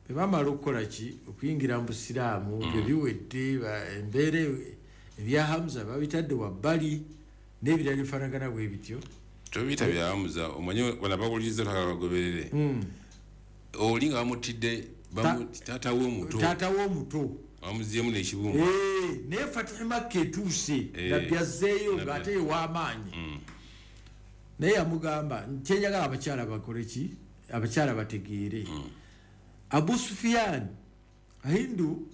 Bwe bamala okukola ki, okuyingira mu busiraamu, bye biwedde, embeera ebya Hamza babitadde wabbali n'ebirala bifaanagana bwe bityo. Tobiyita byamuza, omanye bana bawuliriza, twagala bagoberere. Oli nga bamutidde taata we omuto. Taata we omuto. Bamuzyemu n'ekibumba. Naye Fatihi Makka etuuse. Nabbi azzeeyo ng'ate ew'amaanyi. Naye yamugamba, kyenjagala abakyala bakole ki, abakyala bategeere. Abu Sufiyan, Hindu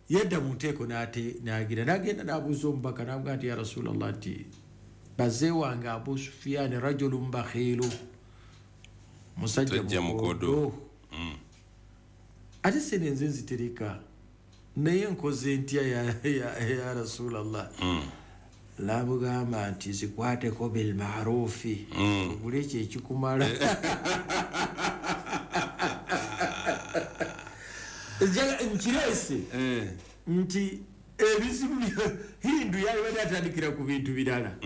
yadda mu nteeko nagira nagenda nabuuza omubaka, namugaa nti, "Ya Rasulallah," nti, "baze wange Abu Sufiyan rajulun bakhilu," musajja Musajja mukodo. Mukodo. Ate sente nze nzitereka, naye nkoze ntya, ya Rasulallah? Namugamba nti, "Zikwateko bilmarufi, ogule ekyo ekikumala." Nkireese nti ebizibu Hindu yalibadde atandikira ku bintu birala,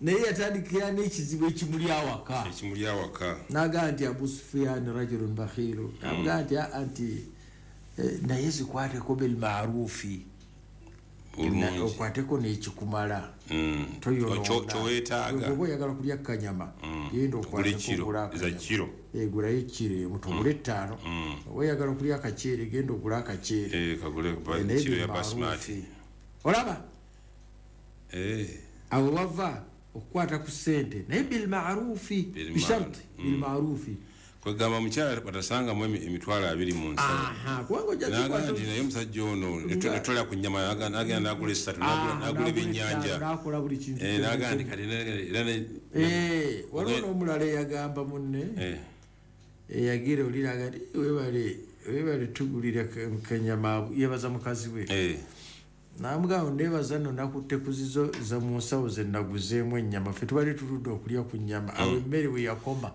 naye yatandikira n'ekizibu ekimuli awaka. Ekimuli awaka. Nagaa nti, "Abu Sufiyan rajulun bakhilu." Namugaa nti, "Aa," nti, "naye zikwateko bilmarufi." Bulungi. Okwateko n'ekikumala. Toyonoona. Kyoweetaaga. Bw'oba oyagala kulya kanyama, genda Ogule okwateko, kiro ogule eza akanyama. kiro. Gulayo kiro emu, togula ettaano. Oba oyagala okulya akaceere, genda ogule akaceere. Kagule Naye kiro ya bilmarufi. basmati. Olaba awo wava okukwata ku ssente, naye bilmarufi. Bilmarufi. Bisharti bilmarufi. Kwegamba mukyala batasangamu 20,000 mu nsawo. Aha, kubanga ojja Naga zikwata. nti, naye omusajja ono netolya ku nyama, nagenda nagula esatu, nagula ebyennyanja. Nakola buli kintu Eh, kyonna. naga nti kati era Waliwo n'omulala eyagamba munne, eyagira oli naga nti, "Webale, webale tugulira kanyama." Yebaza mukazi we. Namugamba, "Nebaza nno, nakutte ku zizo za mu nsawo ze naguzeemu ennyama, ffe tubadde tuludde okulya ku nnyama." Awo emmere we yakoma,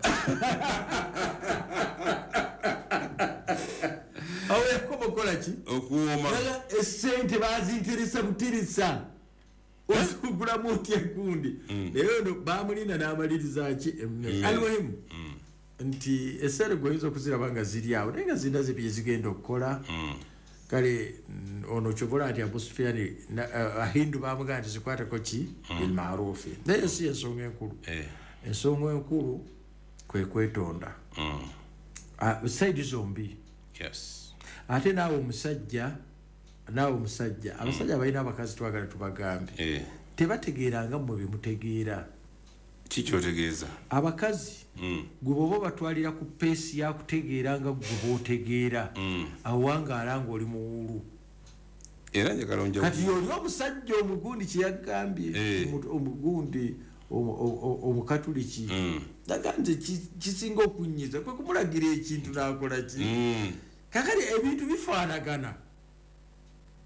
awo yakoma okukola ki? Okuwooma. Naga, esente bazinteresa buteresa, osugulamu otya gundi? Naye ono bamulinda n'amaliriza ki? Emmere. Almuhimu nti esente gweoyinza okuziraba nga ziri awo, naye nga zirina ze zigenda okukola. Kale ono kyovola nti Abu Sufiani, Ahindu bamugamba nti, "Zikwateko ki? Bilmarufi." Naye si ensonga enkulu. Ensonga enkulu kwe kwetonda. Side zombi. Ate naawe omusajja, naawe omusajja, abasajja balina abakazi, twagala tubagambe, tebategeeranga mmwe byemutegeera. Kikyotegeeza? Abakazi, gwe bwoba obatwalira ku pace yakutegeera nga gwe bwotegeera, awo wangaala nga oli muwulu. Era njagala onja. Kati oli omusajja omugundi kyeyagambye, omugundi omukatuliki, naga nze kisinga okunyiza kwe kumulagira ekintu nakola ki. Kakati ebintu bifaanagana,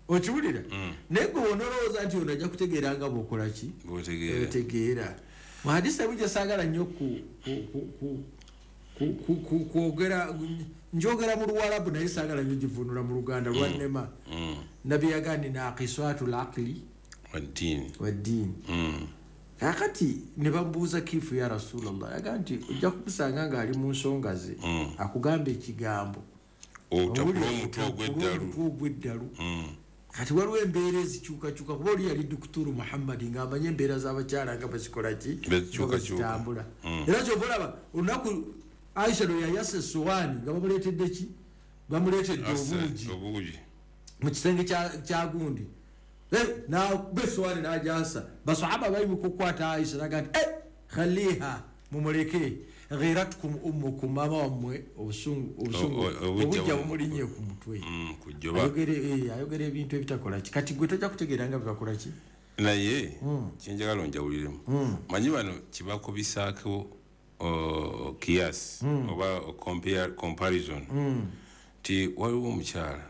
okiwulira? Naye gwe wonolowooza nti ono ajja kutegeera nga bwokola ki? Bwotegeera. Otegeera. Muhadisi emu gyesaagala nnyo kwogera, njogera mu Luwalabu, naye saagala nnyo givunula mu Luganda, lwannema. Nabbi yagandi, "Naqisatu laqli Waddiini. waddiini." Kakati ne bamubuuza, "Kiifu ya Rasulallah?" Yagaa nti, "Ojja kumusanga ng'ali mu nsonga ze, akugamba ekigambo, otakula owulira, omutwe otakula ogw'eddalu." Omutwe ogw'eddalu. Kati waliwo embeera ezikyukakyuka, kuba oli yali Dukuturu Muhammadi ng'amanye embeera z'abakyala nga bazikola ki? Bazikyukakyuka. Nga bazitambula. Era kyova olaba olunaku Aisha lwe yayasa essowaani nga bamuleetedde ki, bamuleetedde obuugi obuugi mu kisenge kya gundi. Nakuba essowaani n'agyasa, basahaba bayimuka okukwata Aisha, naga nti, "Khaliha, mumuleke, ghiratkum ummukum," maama wammwe obusungu obusungu Obujja obujja bumulinnye ku mutwe. Kujjoba. Ayogera ebintu ebitakola ki, kati gwe tojja kutegeera nga byebakola ki. Naye kyenjagala onjawuliremu, manyi bano kibakubisaako kiyasi oba comparison nti waliwo omukyala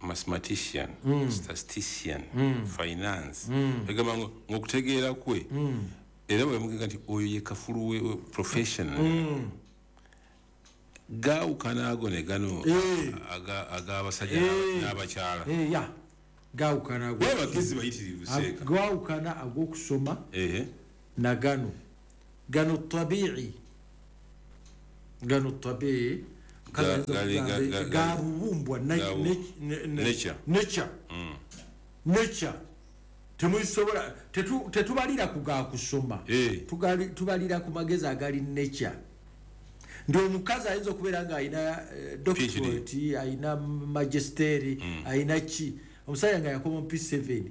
mathematician, statistician, finance, egamba ngaokutegeera kwe, era bwemugega nti oyo ye kafulu we profession, gaawukana ago ne gano ag'abasajja n'abakyala. Ya, gawukana. Bo abagezi bayitirivu, seeka. Gawukana ag'okusoma na gano, gano tabii, gano tabii. Gabubumbwa nature. Nature. Temusobola tetubalira ku ga kusoma. Tubalira ku magezi agali nature. Ndi omukazi ayinza okubeera nga alina doctorate, alina magisteri, alina ki. Omusajja nga yakoma mu P7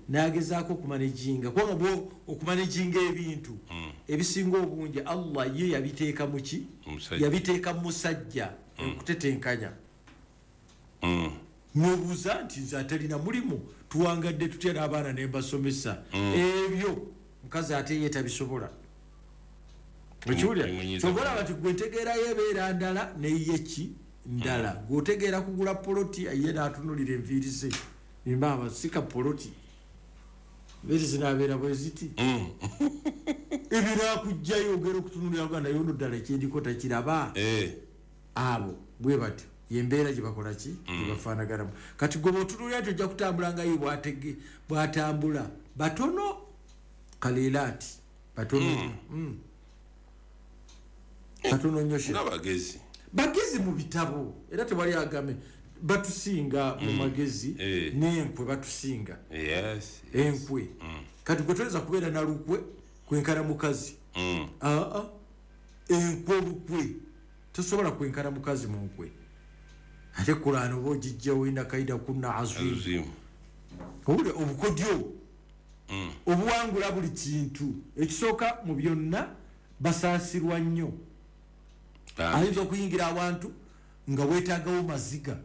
n'agezaako okumanaginga, kubanga bwo okumanaginga ebintu ebisinga obungi Allah ye yabiteeka mu ki? Yabiteeka mu musajja okutetenkanya. N'obuuza nti nze atalina mulimu tuwangadde tutya n'abaana ne mbasomesa. Ebyo mukazi ate ye tabisobola. Okiwulira? Kyova olaba nti gwe ntegeerayo ebeera ndala neye ki ndala. Gwe otegeera kugula poloti ye n'atunulira enviiri ze. Maama sika poloti. Enviiri zinaabeera bwe ziti. Ebyo n'akugjayo ogera okutunulira Uganda yono ddala ekyendiko takiraba. Abo bwe batyo yembeera gye bakola ki? Gye bafaanaganamu. Kati gwe bw'otunulira nti ojja kutambula nga ye bw'atambula. Batono kalilaati. Batono nnyo. Batono nnyo she. Nga bagezi. Bagezi mu bitabo era tewali agame batusinga mu magezi n'enkwe batusinga. Enkwe. Kati gwe toyinza kubeera na lukwe kwenkana mukazi. Enkwe olukwe tosobola kwenkana mukazi mu nkwe. Ate Kulaani oba ogijjawo inna kaida kunna aziim. Owulira obukodyo obuwangula buli kintu. Ekisooka mu byonna basaasirwa nnyo. Ayinza okuyingira awantu nga weetaagawo maziga.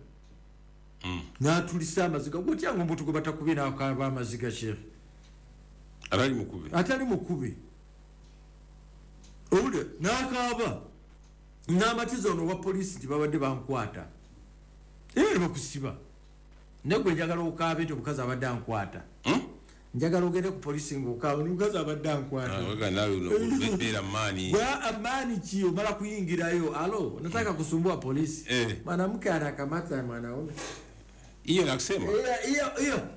N'atulisa amaziga. Gwe otya nga omuntu gwe batakubye n'akaaba amaziga Sheikh? Atali mukube. Atali mukube. Owulira n'akaaba. N'amatiza ono wa poliisi nti babadde bankwata. Era bakusiba. Naye gwe njagala okaabe nti omukazi abadde ankwata. Njagala ogende ku poliisi ng'okaaba omukazi abadde ankwata. Amaani ki omala kuyingirayo? Alo, nataka kusumbua polisi. Mwanamke anakamata mwanaume. Hiyo nakusema. Hiyo hiyo.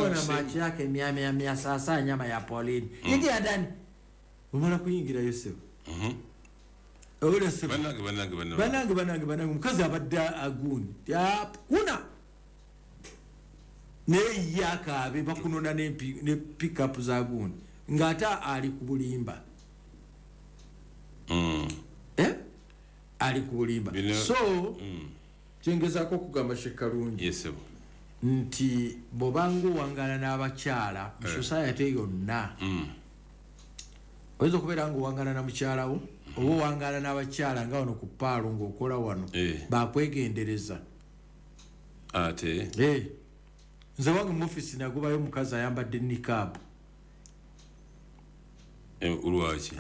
Ona macho yake mia mia mia sasa nyama ya polini. Ingia ndani. Omala kuyingirayo sebo. Owulira sebo. Banange banange banange. Banange banange banange omukazi abadde agundi. Kuna. Naye ye akaabe bakunona ne pick-up za gundi. Ng'ate ali ku bulimba. Ali ku bulimba. So kyengezaako okugamba Sheikh Kalungi. Yes, sir. Nti bw'obanga owangaala n'abakyala mu society yonna. Oyinza okubeera ng'owangaala na mukyala wo oba owangaala n'abakyala nga wano ku paalo ng'okola wano bakwegendereza. Ate? Nze wange mu office nagobayo omukazi ayambadde niqab. Lwaki?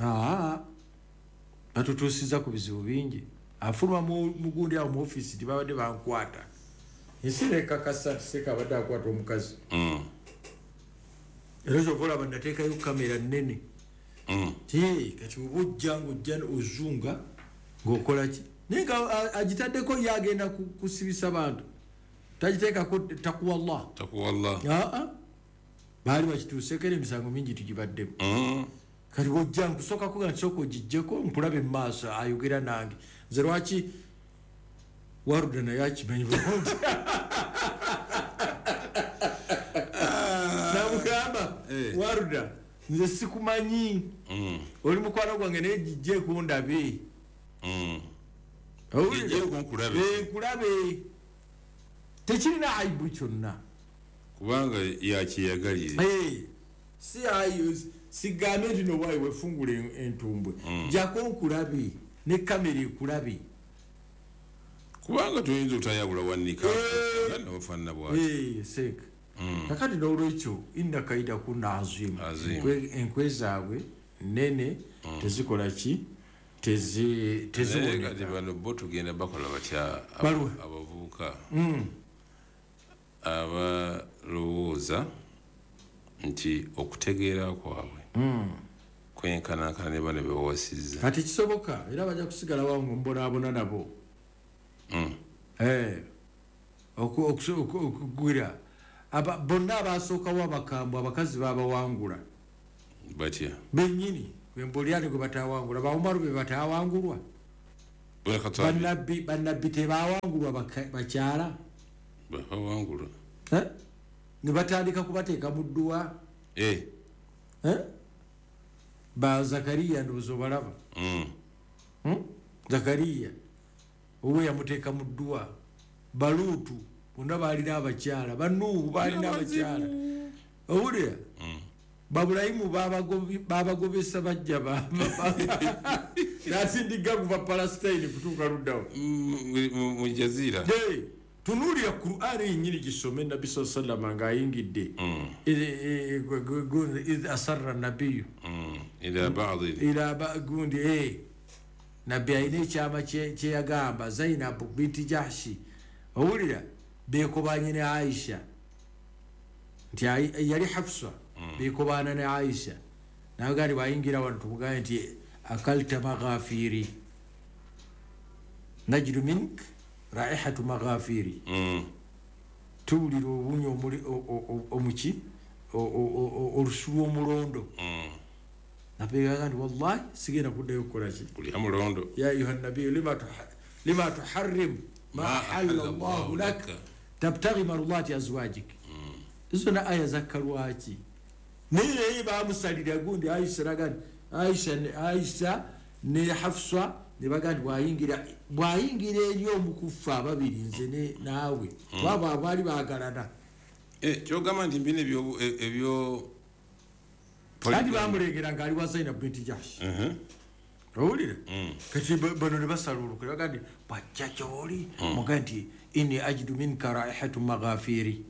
Batutuusiza ku bizibu bingi. Afuluma mugundi awo mu office nti babadde bankwata. Ensi nekakasa nti Seeka abadde akwata omukazi. Era kyova olaba nateekayo kamera nnene. Kati oba ojja ng'ojja ozunga ng'okola ki? Naye nga agitaddeko ye agenda kusibisa bantu. Tagiteekako takuwa Allah. Takuwa Allah. Baali bakituuseeko era emisango mingi tugibaddemu. Kati bw'ojja nkusooka kuga nti sooka ogiggyeko nkulabe mu maaso ayogera nange. Nze lwaki Waruda naye akimanyi bulungi. Namugamba Waruda nze sikumanyi. Oli mukwano gwange naye giggyeko ndabe. Giggyeko nkulabe. Nkulabe. Tekirina aibu kyonna. Kubanga yakiyagalire. Si ayo sigambe nti no waayi wefungule entumbwe. Jako nkulabe ne kamera ekulabe. Kubanga toyinza otayabula wanika nga ofaanana bw'ati. Seeka. Kakati n'olwekyo inna kaida kunna azimu. Enkwe zaabwe nnene tezikola ki? Teziwoneka. Kati bano bo tugenda bakola batya abavubuka abalowooza nti okutegeera kwabwe kwenkanankana ne bano be bawasizza. Kati kisoboka era bajja kusigala wawo ng'omubonaabona nabo. Okugwira bonna abasookawo abakambwe abakazi babawangula. Batya? Bennyini embolyani gwe batawangula, bawumaru be batawangulwa. Bannabbi tebawangulwa bakyala. Bawangulwa. Ne batandika kubateeka mu dduwa. Ba Zakariya ndowooza obalaba. Zakariya owe yamuteeka mu dduwa. Baluutu bonna baalina abakyala, Banuuhu baalina abakyala. Owulira? Babulayimu babagobesa bajja nasindiga kuva Palestine kutuuka luddawo mu jaziira. Tunuulira Qur'ani yennyini gisome Nabbi sallallahu alaihi wasallam ng'ayingidde idh asarra nabiyu ila gundi Nabbi alina ekyama kye yagamba Zainabu binti Jahshi. Owulira beekobanye ne Aisha nti yali Hafsa beekobana ne Aisha naga nti bwayingira wano tumugambe nti akalta maghafiri najidu mink raihatu maghafiri. Tuwulira obunya omuki olusu lw'omulondo. Napegaga nti wallahi sigenda kuddayo kukola ki kulya mulondo. Ya ayuha nabiyu lima tuharrim ma ahalla Allahu lak tabtaghi marudati azwajik. Izo na aya zakka lwaki? Naye bamusalira gundi Aisha ragani Aisha ne Hafsa ne bagandi bwayingira eri omukufa ababiri nze ne naawe baba abaali baagalana. Kyogamba nti mbina ebyo kandi bamulegera ng'ali wa Zainab binti Jahsh. Owulira? Kati bano ne basala olukwe bagandi bwajja gy'oli mugambe nti inni ajidu minka raihatu maghafiri.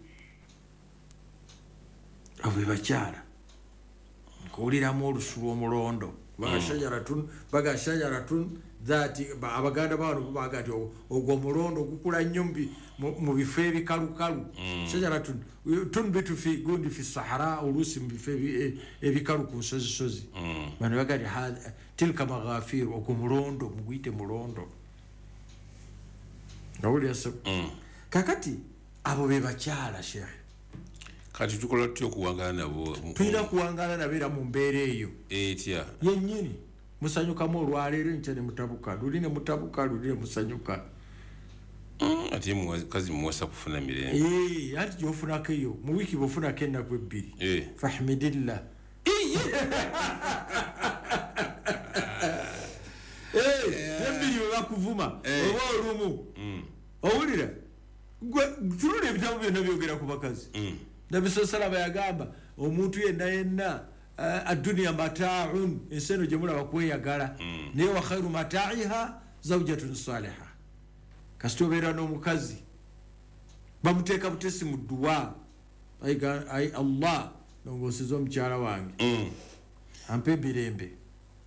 Abo bakyala nkuwuliramu olusu lw'omulondo baga shajaratun dhati abaganda bano baga nti ogwo mulondo gukula nnyo mu bifo ebikalukalu. Shajaratun tunbitu fi gundi fi sahara oluusi mu bifo ebikalu ku nsozisozi. Bano baga nti tilka maghafir, ogwo mulondo muguyite mulondo. Owulira? Kakati abo be bakyala Sheikh. Kati tukola tutya okuwangala nabo? Tulina kuwangala nabo era mu mbeera eyo etya yennyini. Musanyukamu olwaleero enkya ne mutabuka, luli ne mutabuka, luli ne musanyuka. Ate mukazi muwasa kufuna mirembe. Anti gy'ofunako eyo mu wiiki bw'ofunako ennaku ebbiri fahmidillah. Ebbiri bwe bakuvuma oba olumu. Owulira? Tunula ebitabo byonna byogera ku bakazi. Nabbi sallallahu alaihi wasallam yagamba omuntu yenna yenna adduniya mata'un, ensi eno gye mulaba kweyagala, naye wa khairu mata'iha zawjatun saliha. Kasita obeera n'omukazi bamuteeka butesi mu dduwa, ai Allah nongooseza omukyala wange ampe ebirembe.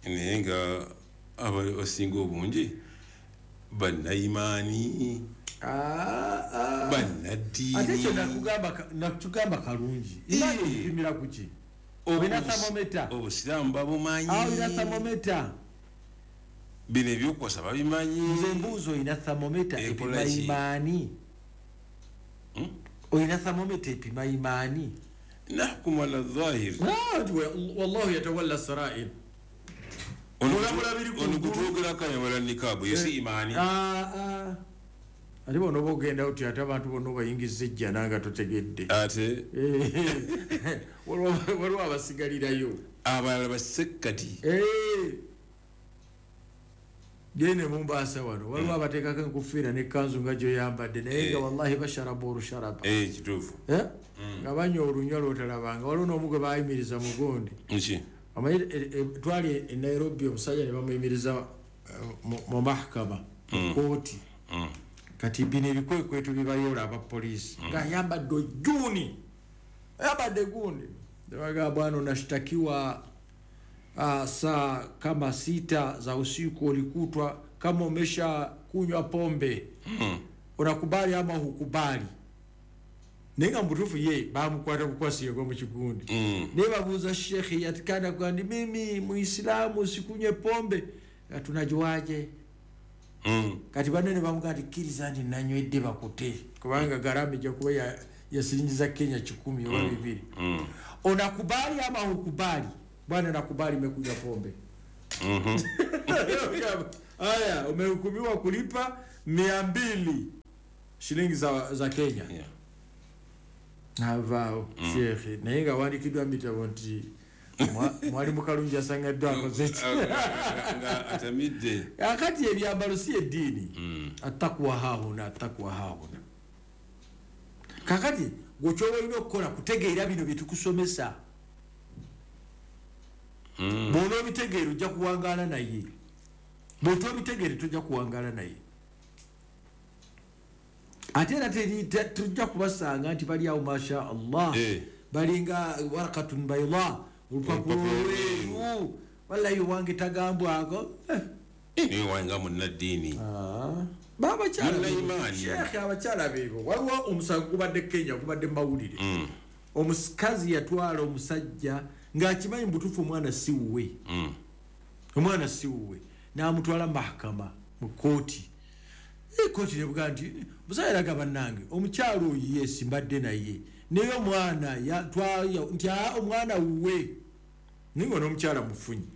Naye nga abasinga obungi bannayimaani bannaddiini. Ate ekyo nakugamba kalungi. Imaani ogipimira ku ki? Olina thermometer. Obusiraamu babumanyi. Olina thermometer. Bino ebyokuwasa babimanyi. Nze mbuuza olina thermometer epima imaani? Olina thermometer epima imaani? Nahkumu ala dhahir. Wallahu yatawalla sarair. Ono gutwogerako ayambala nikaabu yo si imaani. Ate bona oba ogenda oti ate abantu bonna obayingiza ejjana nga totegedde. Ate waliwo abasigalirayo abalala basekkati. Gende Mombasa wano waliwo abateekako enkufiira n'ekkanzu nga gy'oyambadde naye nga wallahi basharaba olusharaba. Kituufu. Nga banywa olunywa lw'otalabanga. Waliwo n'omu gwe baayimiriza mugundi. Omanyi twali e Nairobi omusajja ne bamuyimiriza mu mahakama mu kooti. Kati bino ebikwekweto bibayoola abapoliisi ng'ayambadde ojjuuni ayambadde gundi. Bagamba bwana unashtakiwa saa kama 6 za usiku ulikutwa kama umesha kunywa pombe. Unakubali ama hukubali? Naye nga mutuufu ye bamukwata bukwasi yegwa mu kigundi. Naye babuuza shekhi yatikana kugamba mimi muislamu sikunywe pombe. Tunajuaje? Kati banene bamugamba nti kkiriza nti nanywedde bakute kubanga gharama ejja kuba ya siringi za Kenya 10 oba 2. Unakubali ama hukubali? Bwana nakubali nimekunywa pombe. Aya, umehukumiwa kulipa 200 shilingi za Kenya. Yeah. Navaawo sheekhe, naye nga wandikiddwa mitabo nti mwalimu Kalungi asangaddwa akoze ki? Nga atamidde. Akati ebyambalo si eddiini. Attakuwa haahuna, attakuwa haahuna. Kakati gwe ky'oba olina okukola kutegeera bino bye tukusomesa. Bw'onoobitegeera ojja kuwangaala naye, bw'otoobitegeere tojja kuwangaala naye. Ate era tujja kubasanga nti bali awo masha Allah, balinga warakatun bayda, olupapula olweru, wallahi wange tagambwako. Niwe wange munnaddiini. Sheekhe, abakyala beebo. Waliwo omusango gubadde Kenya, gubadde mawulire. Omukazi yatwala omusajja ng'akimanyi mubutuufu omwana si wuwe. Omwana si wuwe, n'amutwala mahakama mu kooti. Kooti nebuga nti omusajja yalaga bannange omukyala oyo yesi mbadde naye, naye omwana nti omwana wuwe, naye nga n'omukyala mufunyi.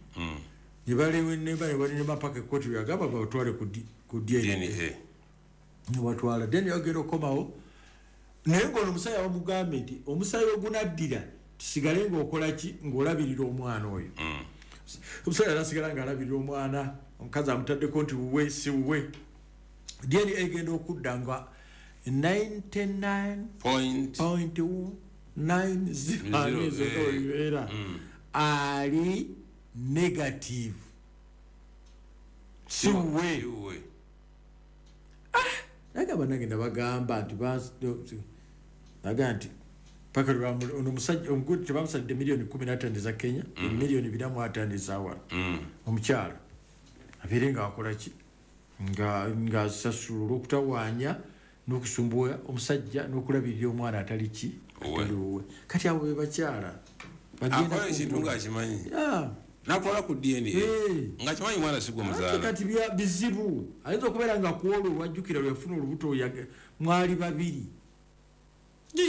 Ne balewa mpaka ekooti yagamba batwale ku DNA. Ne batwala DNA yagenda okukomawo, naye ng'ono omusajja bamugambye nti omusaayi ogunaddira tusigale ng'okola ki, ng'olabirira omwana oyo. Omusajja nasigala ng'alabirira omwana, omukazi amutaddeko nti wuwe si wuwe. DNA egenda okudda nga 99.90 ali negative, si wuwe. Naye bannange bagamba nti baga nti paka ono omusajja omugundi tebamusalidde miliyoni 15 eza Kenya, miliyoni 25 eza wano. Omukyala abeere ng'akola ki, ng'asasula olw'okutawaanya n'okusumbuwa omusajja n'okulabirira omwana atali ki, atali wuwe. Kati abo be bakyala akola ekintu ng'akimanyi, nakola ku DNA ng'akimanyi mwana si gwe muzaala. Kati bizibu, ayinza okubeera nga ku olwo lwajjukira lwe yafuna olubuto mwali babiri,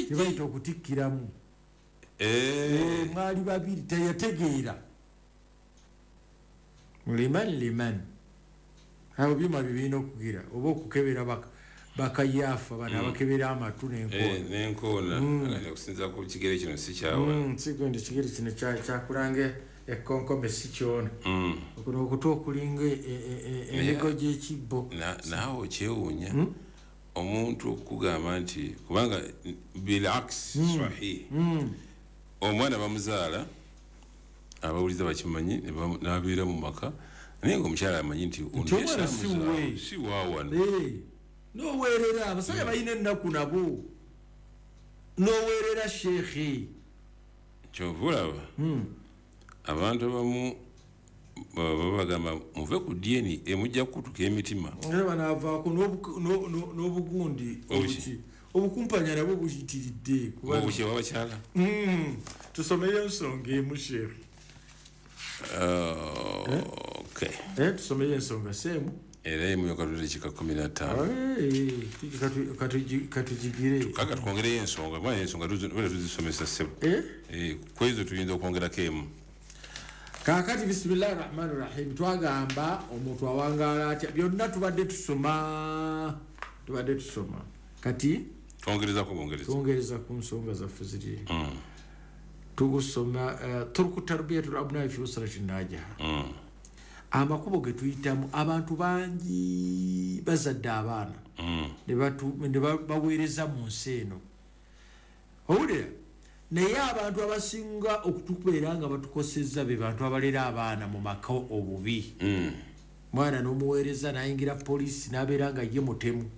tebayita okutikkiramu. Mwali babiri, teyategeera. Liman liman, abo byuma bye birina okugira oba okukebera bakayaafa bano abakebera amatu n'enkoona. N'enkoona okusinziira ku kigere kino si kyawa. Sigende kigere kino kyakulanga ekkonkome si kyona. Okuno okutu okulinga emigo gy'ekibbo. Naawe okyewuunya omuntu okugamba nti kubanga bilaks sahih, omwana bamuzaala abawuliza bakimanyi n'abeera mu maka, naye ng'omukyala amanyi nti omwana si waawano. N'oweerera abasajja balina ennaku nabo, n'oweerera sheekhe. Kyova olaba abantu abamu babagamba muve ku DNA mujja kukutuka emitima. Era banaavaako n'obugundi obukumpanya nabwo buyitiridde. Obuki bw'abakyala. Tusomeyo ensonga emu sheekhe. Okay. Tusomeyo ensonga seemu. Era emu yokatulire kika 15. Katugigire. Kaka twongereyo ensonga, mwana ensonga tuzisomesa ssebo. Kwezo tuyinza okwongerako emu. Kaakati bisimillahi rahmani rahim, twagamba omuntu awangaala atya, byonna tubadde tusoma. Kati twongerezako bwongereza, twongereza ku nsonga zaffe ziri. Tugusoma turuku tarbiyatul abnai fi usrati najaha. Amakubo ge tuyitamu, abantu bangi bazadde abaana ne baweereza mu nsi eno. Owulira? Naye abantu abasinga okutubeera nga batukosezza be bantu abalera abaana mu maka obubi. Mwana n'omuweereza n'ayingira poliisi n'abeera nga ye mutemu.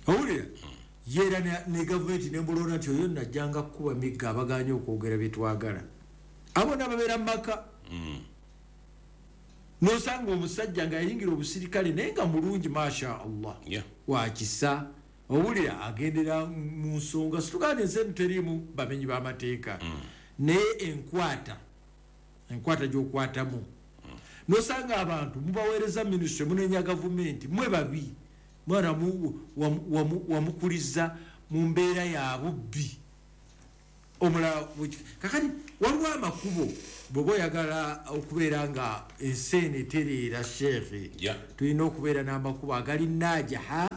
Owulira? Ye era ne gavumenti n'emulonda nti oyo najjanga kukuba migga abagaanye okwogera bye twagala. Abo n'ababeera mu maka. N'osanga omusajja ng'ayingira obusirikale naye nga mulungi masha Allah, wakisa. Owulira agendera mu nsonga, situgane ensi eno teriimu bamenyi b'amateeka, naye enkwata gy'okwatamu. N'osanga abantu mubaweereza minisitule, munenya gavumenti, mwe babi, mwana wamukuliza mu mbeera ya bubbi. Omulala kakati waliwo amakubo bw'oba oyagala okubeera nga ensi eno etereera sheekhe, tulina okubeera n'amakubo agali najaha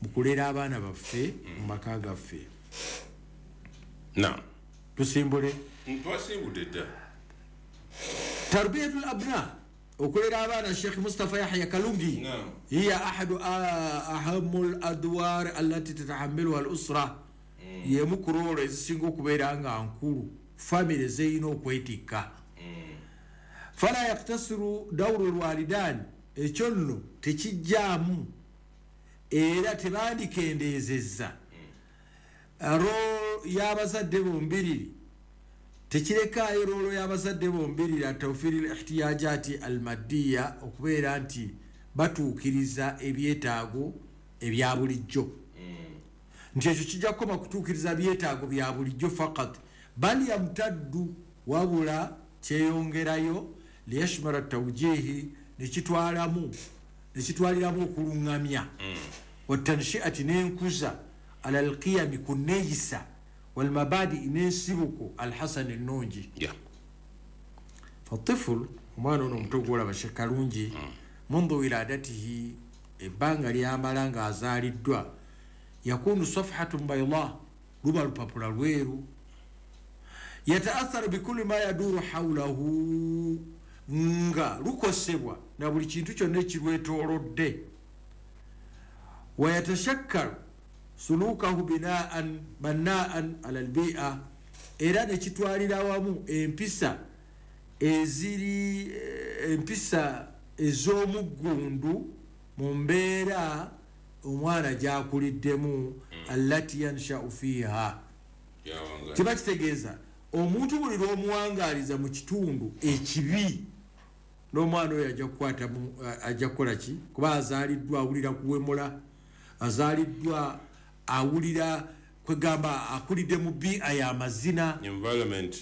mu kulera abaana baffe mu maka gaffe. Tusimbule. Twasimbudde dda. Tarbiyatul abna, okulera abaana. Sheikh Mustafa Yahya Kalungi, hiya ahadu ahamu ladwar allati tatahamiluha al usra, yemu ku role ezisinga okubeera nga nkulu famire zeyina okwetikka. Fala yaktasiru dauru lwalidan, ekyo nno tekijjaamu era tebandikendezezza role y'abazadde bombiriri, tekirekaayo role y'abazadde bombiriri atawfiri l ihtiyajati almaddiya, okubeera nti batuukiriza ebyetaago ebya bulijjo, nti ekyo kijja kukoma kutuukiriza byetaago bya bulijjo fakat, bal yamtaddu, wabula kyeyongerayo liyashmara tawjihi, nekitwaliramu okuluŋŋamya, watanshiati, n'enkuza, ala alqiyami, ku neeyisa, walmabadi, n'ensibuko, alhasani, ennungi. Fatiful, omwana ono omuto gwolaba Shekalungi, mundu wiladatihi, ebbanga lyamala ng'azaaliddwa, yakunu safhatun bayda, luba lupapula lweru, yataatharu bikuli ma yaduru haulahu, nga lukosebwa na buli kintu kyonna ekirwetoolodde, wayatashakkalu sulukahu binaan bannaan ala lbia, era nekitwalira wamu empisa eziri empisa ez'omuggundu mu mbeera omwana gyakuliddemu, allati yanshau fiiha. Kiba kitegeeza omuntu buli lw'omuwangaaliza mu kitundu ekibi, n'omwana oyo ajja kukwata, ajja kukola ki? Kuba azaaliddwa awulira kuwemula, azaaliddwa awulira kwegamba akulidde mu bia y'amazina.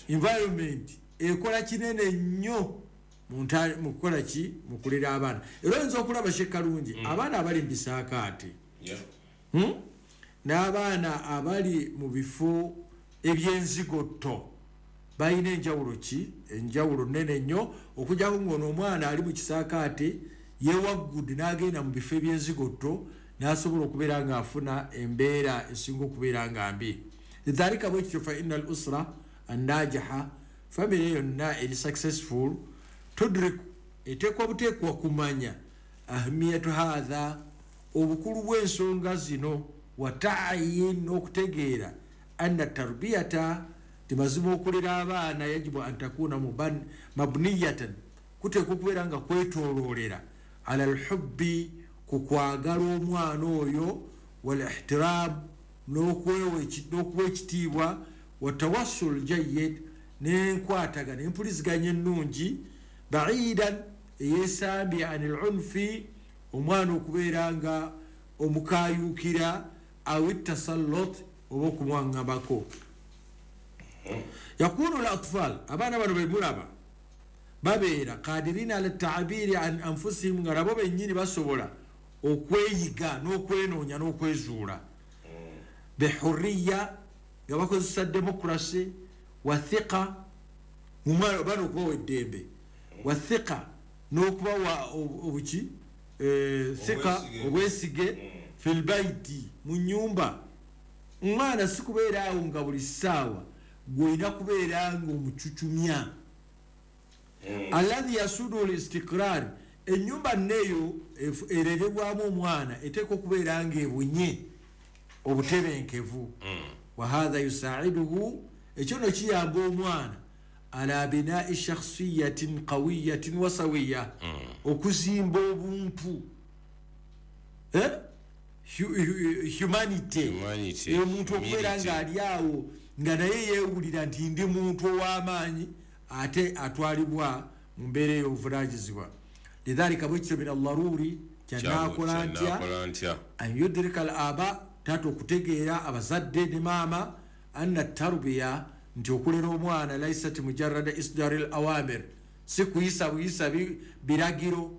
Environment ekola kinene nnyo mu kukola ki? Mu kulera abaana. Era oyinza okulaba Shekalungi, abaana abali mu bisaakaate n'abaana abali mu bifo ebyenzigotto balina enjawulo ki? Enjawulo nene nnyo, okujjako ng'ono omwana ali mu kisaakaate yewaggudde n'agenda mu bifo ebyenzigotto n'asobola okubeera ng'afuna embeera esinga okubeera nga mbi. Lidhalika, bwe kityo, fa inna al usra annajaha, famire yonna eri successful, tudriku, eteekwa buteekwa kumanya ahamiyatu hatha, obukulu bw'ensonga zino, watayin, n'okutegeera, anna tarbiyata, timazima okulera abaana, yajibu an takuna mabniyatan, kuteekwa okubeera nga kwetooloolera ala lhubbi, ku kwagala omwana oyo, wal ihtiram, n'okuwa ekitiibwa, watawassul jayid, n'enkwatagana empuliziganya ennungi, baidan, eyesambye, ani lunfi, omwana okubeera nga omukayukira, aw tasallut, oba okumwaŋŋambako. Yakunu l atfal, abaana bano bemulaba babeera kadirina ala taabiri an anfusihim, nga nabo bennyini basobola okweyiga n'okwenoonya n'okwezuula, bihurriya, nga bakozesa demokrasi, wathiqa, bana okubawa eddembe, wathiqa, n'okubawa obuki, thika, obwesige, filbaiti, mu nyumba. Omwana si kubeera awo nga buli ssaawa gwolina kubeera nga omucucumya, alladhi yasudu listiqrar. Enyumba neyo ererebwamu omwana eteekwa okubeera nga ebunye obutebenkevu. Wahatha yusaiduhu, ekyo no kiyamba omwana ala binai shakhsiyatin qawiyatin wasawiya, okuzimba obuntu, humanity, omuntu okubeera nga ali awo nga naye yeewulira nti ndi muntu ow'amaanyi ate atwalibwa mu mbeera ey'obuvunanyizibwa. Lidhalika, bwekityo, min allaruri, kyanakola ntya, an yudrika al aba, taata okutegeera, abazadde ne maama, anna tarbiya, nti okulera omwana, laisat mujarada isdari l awamir, si kuyisa buyisa biragiro,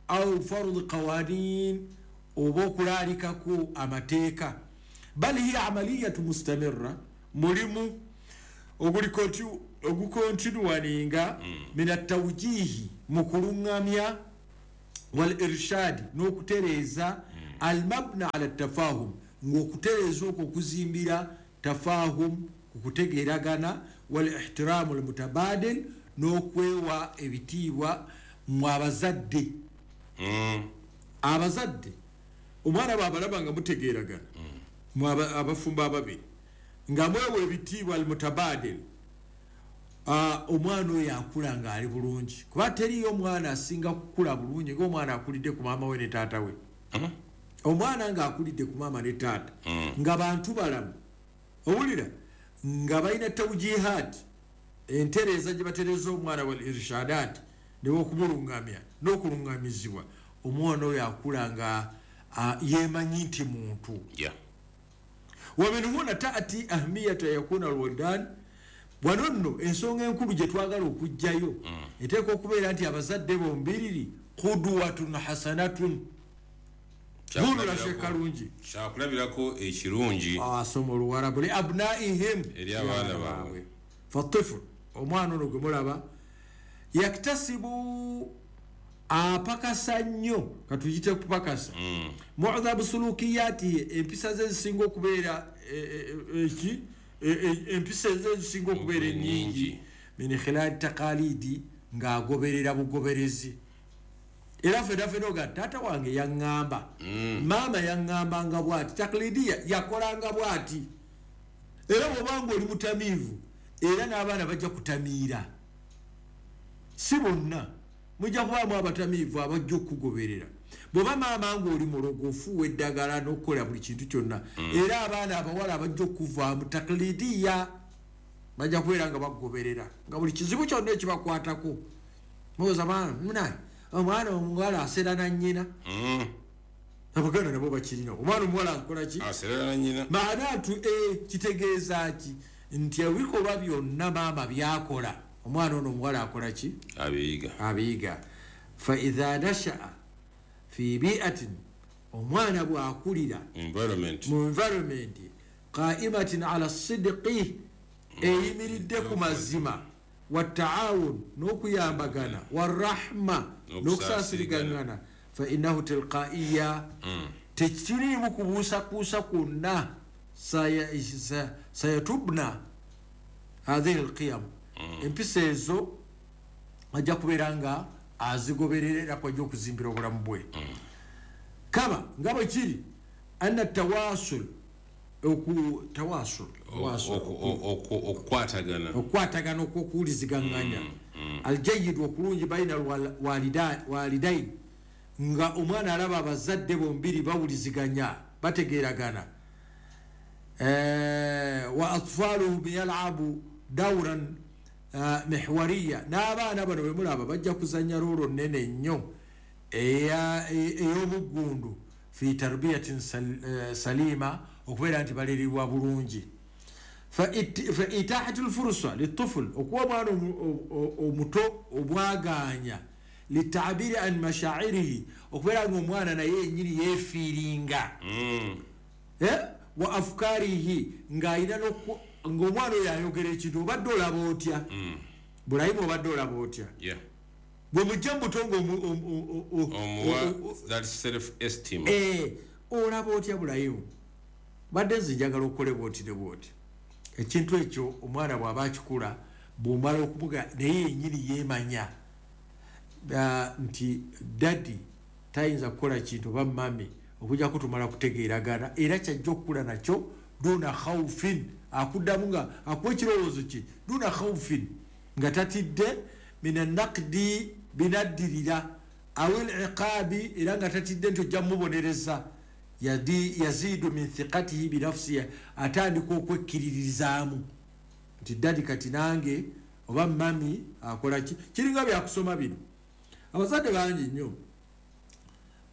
au fardi qawanin, oba okulaalikako amateeka, bal hiya amaliyatu mustamirra, mulimu Ogukontinuwaninga min atawjihi, mu kulungamya, wal irshad, n'okutereeza, almabna ala tafahum, ng'okutereeza okwo okuzimbira tafahum, ku kutegeeragana, wal ihtiramu almutabadil, n'okwewa ebitiibwa mu abazadde. Abazadde omwana bw'abalaba nga mutegeeragana, mu abafumbo ababiri nga mwewa ebitiibwa almutabadil, omwana oyo akula ng'ali bulungi, kuba teriyo omwana asinga kukula bulungi ng'omwana akulidde ku maama we ne taata we. Omwana ng'akulidde ku maama ne taata nga bantu balamu, owulira nga balina tawjihat, entereeza gye batereeza omwana, wal irshadat, newokumulungamya n'okulungamizibwa, omwana oyo akula nga yeemanyi nti muntu. Wa min huna taati ahmiyata yakuna alwaldan. Wano nno ensonga enkulu gye twagala okuggyayo eteekwa okubeera nti abazadde bombiriri qudwatun hasanatun, vunula kalungi, kyakulabirako ekirungi, asoma oluwarabu, li abnaihim, eri abaana baabwe. Fatiful, omwana ono gwe mulaba, yaktasibu, apakasa nnyo, katuyite kupakasa, mu'dhabu sulukiyatihi, empisa ze zisinga okubeera eki empisa ze zisinga okubeera ennyingi, min khilali taqalidi, ng'agoberera bugoberezi. Era ffenna ffenna oga taata wange yaŋŋamba, maama yaŋŋambanga bw'ati, taklidiya yakolanga bw'ati. Era bw'obanga oli mutamiivu, era n'abaana bajja kutamiira. Si bonna, mujja kubaamu abatamiivu abajja okugoberera. Bw'oba maama ng'oli mulogo, ofuuwa eddagala n'okukola buli kintu kyonna, era abaana abawala abajja okuvaamu taklidiya bajja kubeera nga bakugoberera, nga buli kizibu kyonna ekibakwatako mubuuza muna omwana omuwala asera na nnyina. Abaganda nabo bakirina, omwana omuwala akola ki? Asera na nnyina. Maanatu kitegeeza ki? Nti ebikolwa byonna maama byakola, omwana ono omuwala akola ki? Abiyiga. Abiyiga. Fa idha nashaa fi biatin, omwana bw'akulira mu environment qaimatin ala sidqi, eyimiridde ku mazima, wataawun, n'okuyambagana, warahma, n'okusaasirigangana, fa innahu tilqaiya, tekiriimu kubuusakuusa kwonna, sayatubna hathihi alqiyam, empisa ezo ajja kubeera nga azigoberera era kwajja okuzimbira obulamu bwe. Kama nga bwe kiri anna tawasul, okukwatagana okw'okuwuliziganganya aljayid, okulungi, baina walidain, nga omwana alaba abazadde bombiri bawuliziganya, bategeeragana, wa atfaluhum yalabu dauran mihwariya, n'abaana bano bwe mulaba bajja kuzannya roolo nnene nnyo ey'obuggundu fi tarbiyatin salima, okubeera nti balerirwa bulungi. Fa itahatu lfursa lituful, okuwa omwana omuto obwagaanya, litabiri an mashairihi, okubeera nga omwana naye yennyini yeefiiringa, wa afukarihi, ng'alina ng'omwana oyo ayogera ekintu, obadde olaba otya Bulayimu, obadde olaba otya bwe mujja mubuto olaba otya Bulayimu, badde nze njagala okole bwoti ne bwoti. Ekintu ekyo omwana bw'aba akikula, bw'omala okumuga naye yennyini yeemanya nti daddy tayinza kukola kintu oba mami okujjako tumala kutegeeragana, era kyajja okukula nakyo duna khawfin, akuddamu nga akuwa ekirowoozo kye duna khawfin, nga tatidde mina naqdi binaddirira awil iqabi, era nga tatidde nti ojja mubonereza. Yazidu min thiqatihi binafsihi, atandika okwekkiririzaamu nti daddy kati nange oba mami akola ki. Kiringa byakusoma bino, abazadde bangi nnyo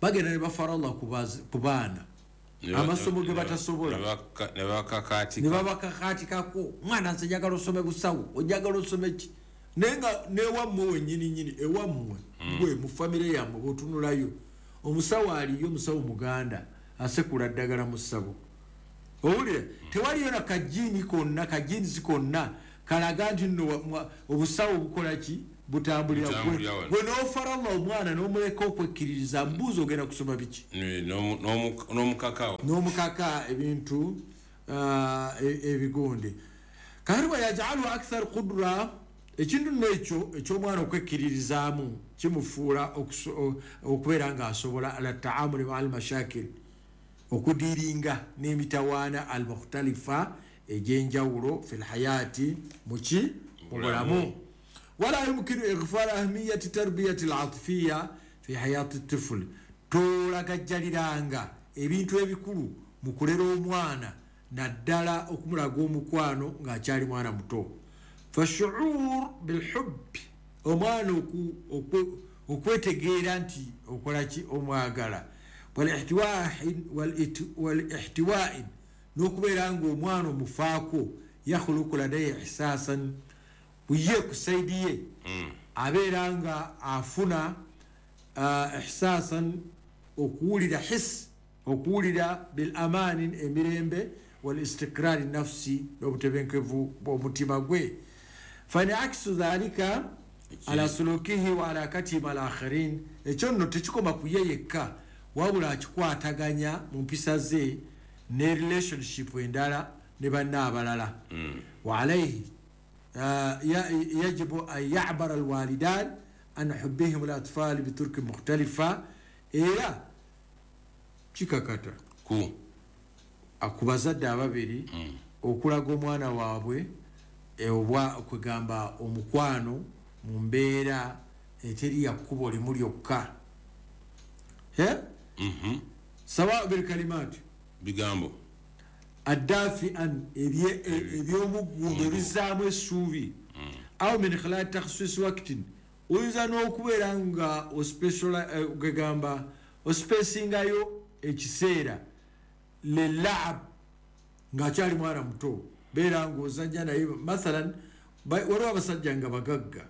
bagenda ne bafarala ku baana amasomo ge batasobola, ne babakakaatikako, omwana nze njagala osome busawo, ojagala osome ki, naye nga newammwe wennyini nnyini ewammwe gwe mu famire yammwe bw'otunulayo omusawo aliyo, omusawo muganda asekula ddagala mu ssabo, owulira tewaliyo na kajiini konna, kajiinisi konna Kalaga nti nno obusawo bukola ki butambulira gwe n'ofaralla omwana n'omuleka okwekkiririza mbuuzi ogenda kusoma biki n'omukaka ebintu ebigonde. Kakati wayajaluhu akthar qudra, ekintu nno ekyo eky'omwana okwekkiririzaamu kimufuula okubeera ng'asobola ala taamuli maa almashakil, okudiiringa n'emitawaana almukhtalifa egy'enjawulo fi lhayaati muki mu bulamu. Wala yumkinu ighfal ahmiyati tarbiyati alatifiya fi hayati tifuli, tolagajjaliranga ebintu ebikulu mu kulera omwana naddala okumulaga omukwano ng'akyali mwana muto. Fashuur bilhubbi, omwana okwetegeera nti okola ki omwagala, walihtiwain, n'okubeera ng'omwana omufaako, yakhuluku ladaihi ihsasan, ye ku saidi ye abeera nga afuna ihsasan, okuwulira his, okuwulira bil amaani, emirembe, wal istiqrari nafsi, n'obutebenkevu bw'omutima gwe. Faniaksu dhalika ala sulukihi wa alakatihi ma alakhirin, ekyo nno tekikoma ku ye yekka, wabula akikwataganya mu mpisa ze ne relationship endala ne banna abalala. Wa alaihi yajibu an yabara alwalidan an hubbihim alatfali biturki mukhtalifa, era kikakata ku bazadde ababiri okulaga omwana waabwe oba okwegamba omukwano mu mbeera eteri ya kkubo limu lyokka. Sawa bilkalimaati, bigambo addafian, ebyomuggundo ebizaamu essuubi, aw min khilali takhsis waktin, oyinza n'okubeera nga ogamba ospesingayo ekiseera lelaab ng'akyali mwana muto, beera ng'ozannya naye. Mathalan waliwo abasajja nga bagagga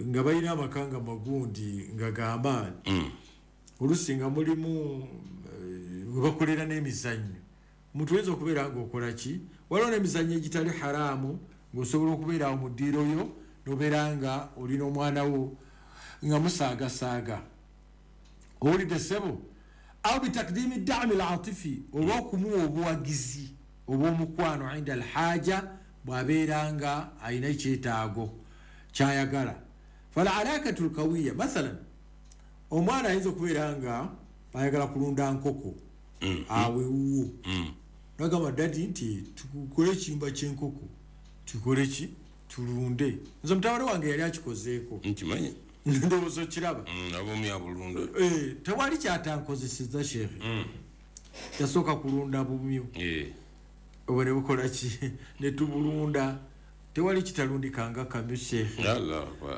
nga balina amaka nga magundi nga g'amaanyi, oluusi nga mulimu webakolera n'emizannyo. Omuntu oyinza okubeera ng'okola ki, waliwo n'emizannyo egitali haraamu ng'osobola okubeera awo mu ddiiro yo n'obeera nga olina omwana wo nga musaagasaaga. Owulidde ssebo? Aw bitakdiimi ddaami latifi, oba okumuwa obuwagizi obw'omukwano inda alhaja, bw'abeera nga alina ekyetaago kyayagala. Falalakatu lkawiya, mathalan omwana ayinza okubeera nga ayagala kulunda nkoko awo ewuwo, nagamba dadi nti tukole ekiyumba ky'enkoko, tukole ki tulunde. Nze mutabani wange yali akikozeeko, nkimanyi ndowooza okiraba abumya tewali kyatankozeseza sheekhe. Yasooka kulunda bumyu obwo ne bukola ki ne tubulunda, tewali kitalundikanga kamyu sheekhe.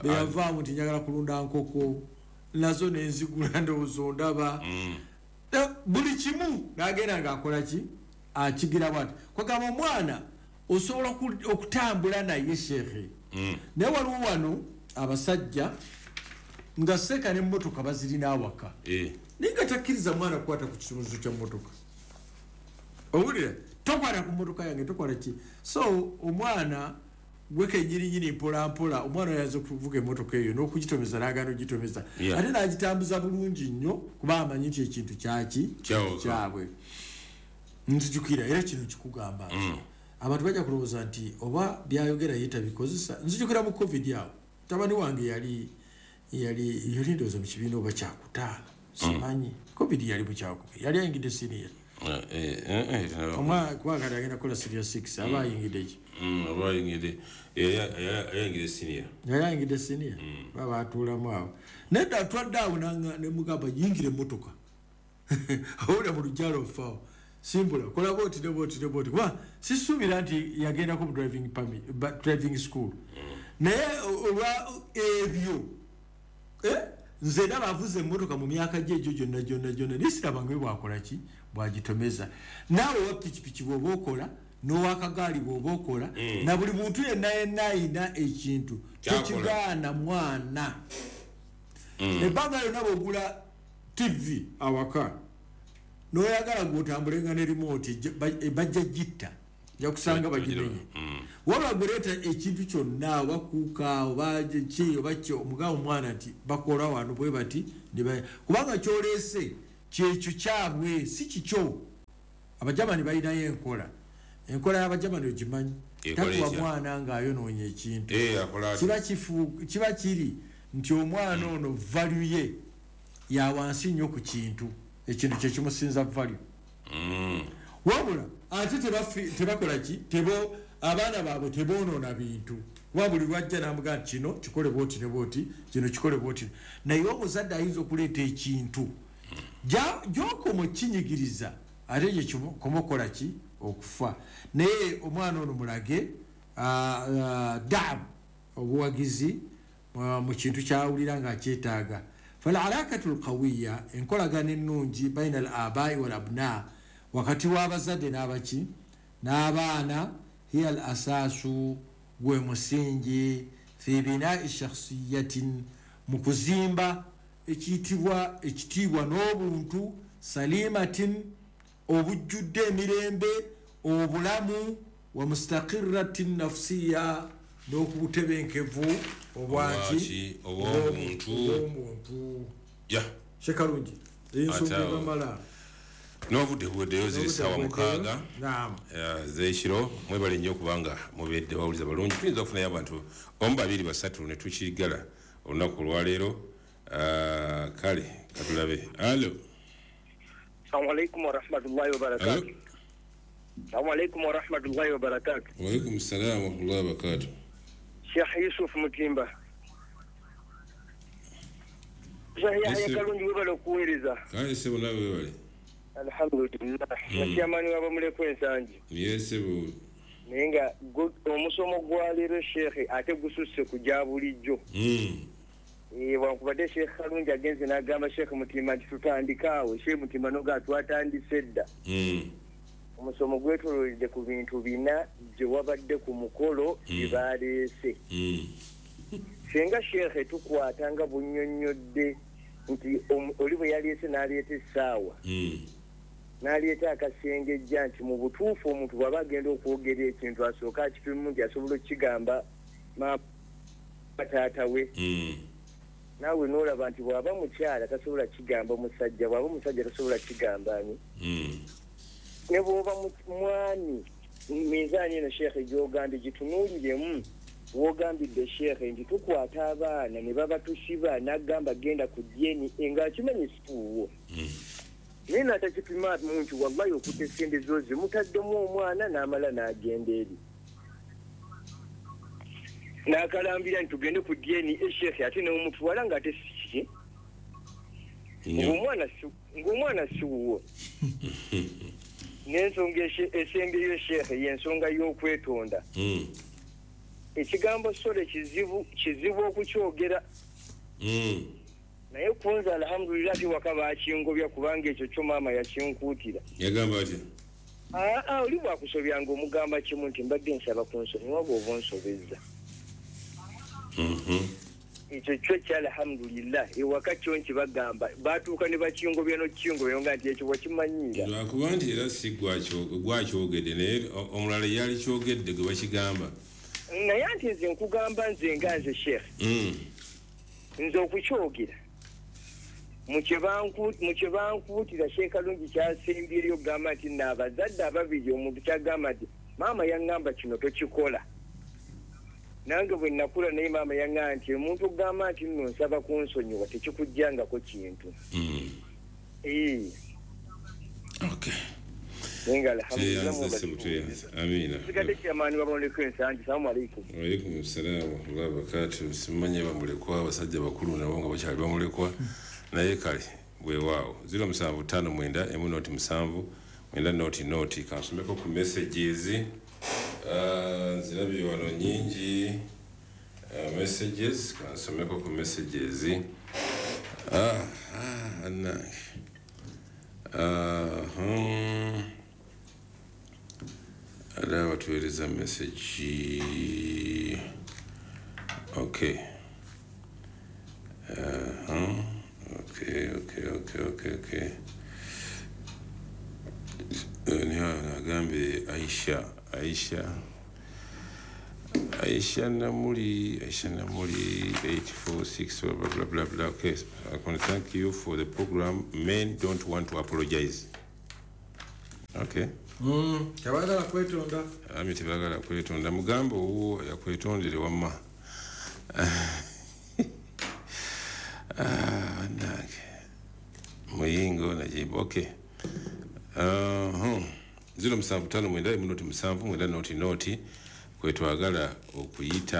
Beyavaamu nti njagala kulunda nkoko, nazo nenzigula ndowooza ondaba buli kimu nagenda ngaakola ki akigira bwati. Kwegamba omwana osobola okutambula naye sheekhe. Naye waliwo wano abasajja nga seeka n'emmotoka bazirina awaka, naye nga takkiriza mwana kukwata ku kisumuluzo kya mmotoka. Owulira, tokwata ku mmotoka yange, tokola ki. So omwana gwe kenyininyini mpola mpola omwana oyinza okuvuga emmotoka eyo n'okugitomeza n'agaana ogitomeza, ate n'agitambuza bulungi nnyo kuba amanyi nti ekintu kyaki kyabwe. Nzijukira era kino kikugamba nti abantu bajja kulowooza nti oba byayogera ye tabikozesa. Nzijukira mu COVID awo mutabani wange yali yali ndowooza mu kibiina oba kyakutaano, simanyi. COVID yali mu kyakubiri, yali ayingidde siniya kuba kati agenda kukola senior 6, aba ayingidde ki? Aba ayingidde ayingidde senior. Yali ayingidde siniya, baba batuulamu awo nedda atwadde awo nemugamba yingira emmotoka, owulira mu lujjalo ofaawo simbula kola bwoti ne bwoti ne bwoti, kuba sisuubira nti yagendako mu driving permit, driving school. Naye olwa ebyo nze ndaba avuze emmotoka mu myaka gye egyo gyonna gyonna gyonna, naye siraba nga bwakola ki bwagitomeza. Naawe wa pikipiki bw'oba okola n'owakagaali bw'oba okola na buli muntu yenna yenna ayina ekintu tekigaana mwana. Ebbanga lyonna bw'ogula TV awaka n'oyagala gw'otambulenga ne remote, bajja gitta. Nja kusanga bagimenye. Waba guleeta ekintu kyonna oba kuuka oba ki oba ki, omugamba omwana nti bakola wano bwe bati, kubanga kyoleese kyekyo kyabwe, si kikyo. Abajamani balinayo enkola. Enkola y'abajamani ogimanyi? Takuwa mwana ng'ayonoonye ekintu. Kiba kiri nti omwana ono value ye ya wansi nnyo ku kintu, ekintu kye kimusinza value. Wabula ate tebakola ki, abaana baabwe teboonoona bintu, kuba buli lwajja n'amugamba nti kino kikole bwoti ne bwoti, kino kikole bwoti. Naye omuzadde ayinza okuleeta ekintu gy'okoma okinyigiriza, ate gye kikoma okukola ki, okufa. Naye omwana ono mulage daamu, obuwagizi mu kintu kyawulira ng'akyetaaga. Falalakatu lqawiya, enkolagana ennungi baina al abai wal abna, wakati w'abazadde n'abaki n'abaana, hiya al asaasu, gwe musingi, fi binai shakhsiyatin, mu kuzimba ekiyitibwa ekitiibwa n'obuntu, salimatin, obujjudde emirembe, obulamu, wa mustaqirratin nafsiya, n'okubutebenkevu obwaki obw'omuntu. Shekalungi ensonga ebamala n'obudde buweddeyo, ziri ssaawa 6 z'ekiro. Mwebale nnyo okubanga mubedde bawuliza balungi. Tuyinza okufunayo abantu 1, 2, 3 ne tukigala olunaku olwaleero. Kale katulabe. Alo. Assalamu alaikum warahmatullahi wabarakatuh. Assalamu alaikum warahmatullahi wabarakatuh. Wa alaikum salam warahmatullahi wabarakatuh. Sheikh Yusuf Mutimba. Sheikh Yahya Kalungi webale okuweereza. Kale ssebo, nawe webale. Alhamdulillah. Nakyamani wabamuleko ensangi. Yes ssebo. Naye nga omusomo gwa leero Sheikh ate gususse ku gya bulijjo. Wankubadde Sheikh Kalungi agenze n'agamba Sheikh Mutimba nti tutandikaawo. Sheikh Mutimba n'oga twatandise dda. Omusomo gwetoololedde ku bintu bina gye wabadde ku mukolo bye baleese. Singa Sheikh tukwata nga bunnyonnyodde nti oli bwe yaleese n'aleeta essaawa, n'aleeta akasengejja, nti mu butuufu omuntu bw'aba agenda okwogera ekintu asooka akipimu nti asobola okukigamba maama taata we. Naawe n'olaba nti bw'aba mukyala tasobola kigamba musajja, bw'aba musajja tasobola kigamba ani. Ne bw'oba mwami, minzaani eno Sheikh gy'ogambye gitunuuliremu. Wogambidde Sheikh nti tukwata abaana ne babatusiba n'agamba genda ku DNA ng'akimanyi situuwo. Naye n'atakipima nti wallahi okutte essente zo zimutaddemu omwana n'amala n'agenda eri. N'akalambira nti tugende ku DNA Sheikh, ate n'omutwala ng'ate si kiki. Ng'omwana si wuwo. N'ensonga esembyeyo Sheikh y'ensonga y'okwetonda. Ekigambo sole kizibu okukyogera. Naye kunze alhamdulillah ate waka bakingobya kubanga ekyo kyo maama yakinkuutira. Yagamba atya? Oli bwakusobyanga omugamba kimu nti mbadde nsaba kunsonyiwa bw'oba onsobezza. Ekyo kyo kya alhamdulillah ewaka kyo nkibagamba batuuka ne bakingobya n'okukingobya nga nti ekyo wakimanyiira. Lwakuba nti era si gwakyogedde, naye omulala yali kyogedde gwe bakigamba. Naye anti nze nkugamba nze nga nze Sheikh. Nze okukyogera mu kye bankuutira Sheikh Kalungi kyasembyeyo okugamba nti n'abazadde ababiri omuntu kyagamba nti maama yaŋŋamba kino tokikola. Nange bwe nakula naye maama yaŋŋamba nti omuntu okugamba nti nno nsaba kunsonyiwa tekikuggyangako kintu. Okay. Naye alhamdulillah Amina. Sigadde kyamaani waboneko ensangi. Assalamu alaikum. Wa alaikum salaam wa rahmatullahi wa barakatuh. Simanye bamulekwa abasajja bakulu nabo nga bakyali bamulekwa. Naye kale weewaawo 0759 1 0 7 9 0 kansomeko ku messages. Nzirabye wano nyingi messages, kansomeko ku messages. Ala watuweereza message. Okay. Okay. Agambe Aisha Namuli 846 blah blah blah blah. Okay, I can thank you for the program. Men don't want to apologize. Okay. Tebagala kwetonda. Ami tebagala kwetonda. Mugambo uwo yakwetondere wamma. Nange. Muyingo najibu. Okay. 075 9 7 9 0 kwetwagala okuyita